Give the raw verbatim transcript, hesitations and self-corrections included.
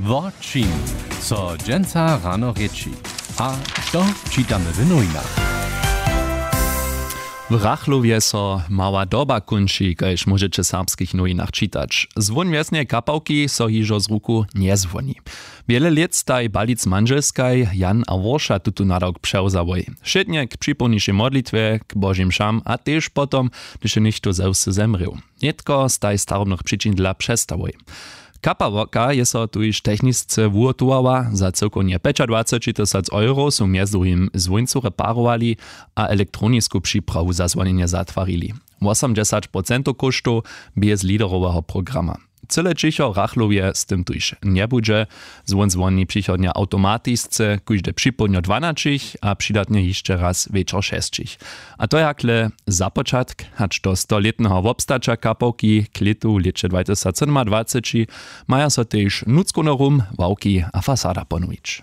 Wo čim so dźensa rano rěči a što čitamy w nowinach? W rachlowje so mała doba kónči, kaž móžeće w serbskich nowinach čitać. Zwón wjesneje kapałki so hižo z ruku njezwoni. Wjele lět staj balic mandźelskaj jan a worša tutón nadawk přewzałoj, wšědnje k připołnišej modlitwje, k božim mšam a tež potom, hdyž je něchtó ze wsy zemrěł. Nětko staj starobnych přičin dla přestałoj. Kapałoka je so tuž technisce wuhotowała. Za cyłkownje pjećadwaceći tysac euro su mjez druhim zwóńcu reparowali a elektronisku připrawu za zwonjenje zatwarili. Wosomdźesać procentow kóštow bě z leaderoweho programa. Cyle ćicho w rachlowje z tym tuž njebudźe. Zwón zwoni přichodnje awtomatisce kóžde připołdnjo dwanaćich a přidatnje hišće raz wječor šesćich. A to je hakle za počatk. Hač do stolětneho wobstaća kapałki k lětu w lěće dwatysacsydomadwaceći maja so tež nutřkowny rum, ławki a fasada ponowić.